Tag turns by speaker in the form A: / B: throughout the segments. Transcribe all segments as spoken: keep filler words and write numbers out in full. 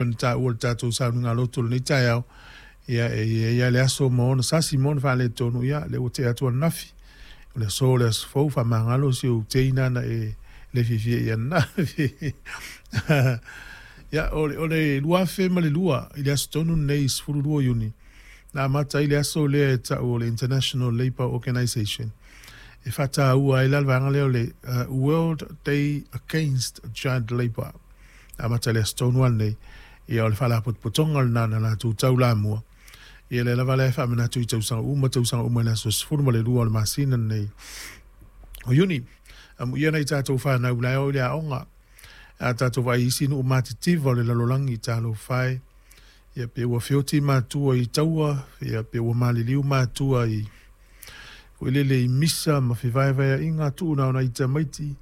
A: Ona taua le tatou sauniga lotu lenei taeao, ia e i ai le aso ma ona sasi ma ona faaletonu, ia lea ua tea atu ananafi. O le aso o le aso fou, faamagalo si ou teina na e le fiafia i ananafi. Ia, o le, o le lua afe ma le lua i le aso tonu lenei sefulu lua o Iuni, na amata ai le aso lea e tau o le International Labour Organization e faataua ai la le vaega lea o le uh, World Day Against Child Labour. Na amata i le aso tonu lava lenei, ia o le faalapotopotoga lena na latou taulamua. Ia lea lava lea e faamanatu i tausaga uma tausaga uma i le aso sefulu ma le lua o le masina lenei o Iuni. Amuia nai tatou fanau la e o i le aoga. A tatou vaai i isi nuu matitiva o le lalolagi, talofa e, ia pe ua feoti matua i taua, ia pe ua maliliu matua i foi lele i misa ma fevaevaeaiga tuu na o nai tamaiti.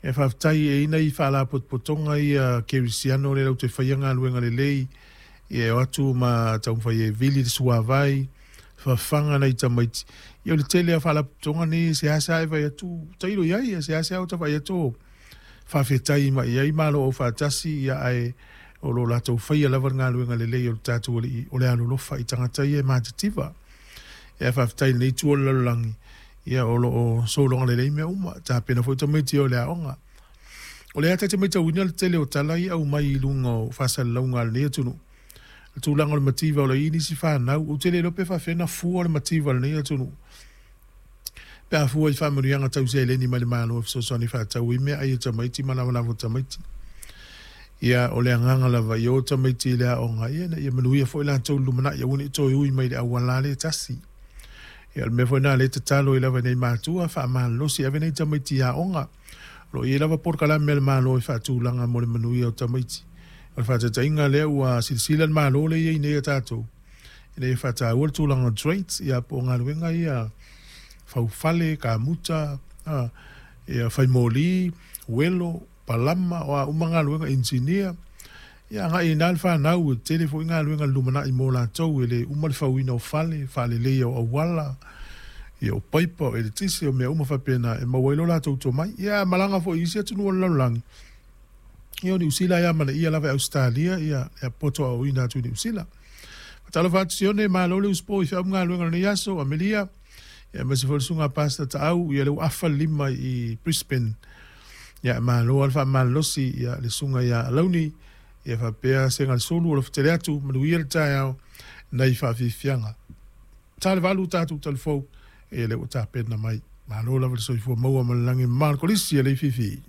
A: E faafetai e i ai nai faalapotopotoga ia kerisiano lea latou te faia galuega lelei, ia e o atu ma taumafai e vili le suavai, fafaga nai tamaiti. Ia o le tele o faalapotopotoga nei e seasea e vaai atu, tailo i ai, e seasea ota vaai atu o faafetai mai i ai Malo Aufaatasi, ia ae o lo o latou faia lava le galuega lelei o le tatou Alii o le alolofa i tagata ia e matitiva. Ia faafetai i lenei itu o le lalolagi, ia o lo o sologa lelei mea uma, tapena foi tamaiti o le aoga. O lea ta te matauina le tele o tala ia aumai i luga o faasalalauga a lenei atunuu, le tulaga o le mativa o lo o i ai nisi fanau. Ou te le iloa pe faapefea ona fua le mativa a lenei atunuu pe a fua i faamanuiaga tau seleni mai le Malo e fesoasoani faatau ai meaai a tamaiti ma lavalava o tamaiti. Ia, o le agaga lava ia o tamaiti i le aoga, ia ina ia manuia foi latou i le lumanai, aua ne i toe ui mai i le auala lea e tasi. Ia o le mea foi lena o lea e tatalo ai lava i nai matua, faamalolosi e ave nai tamaiti i aoga. O lo o i ai lava polokalame a le Malo e faatulaga mo le manuia o tamaiti. O le faataitaiga lea ua silasila le Malo lea e i ai nei a tatou, ina ia faataua le tulaga o trades, ia po o galuega ia faufale, kamuta, a, ia faimoli, uelo, palama, o a uma galuega, inisinia. Ia agai i ina le fanau, e tele foi galuega i le lumanai mo latou, e le uma le fauina o fale, faaleleia o auala, ia o paipa, o eletise, o mea uma faapena e maua ai lo latou tomai. Ia a malaga foi i isi atunuu o le lalolagi, ia o Niu Sila e amanaia lava e Ausetalia ia le poto aoaoina atu i Niu Sila. Faatalofa atu Sione, malo le usupo i feau ma galuega o lenei aso, Amelia, ia aemaise foi le susuga Pastor Taau, ia lea ua afa le lima i Brisbane. Ia malo lava le faamalolosi, ia le susuga ia Alauni, ia faapea Segalesulu o lo o fetele atu, manuia le taeao nai faafiafiaga. Ta le valu tatou talifou, ia lea ua tapena mai. Malo lava le soifua maua ma le lagi e mama o le Kolisi e Leififi.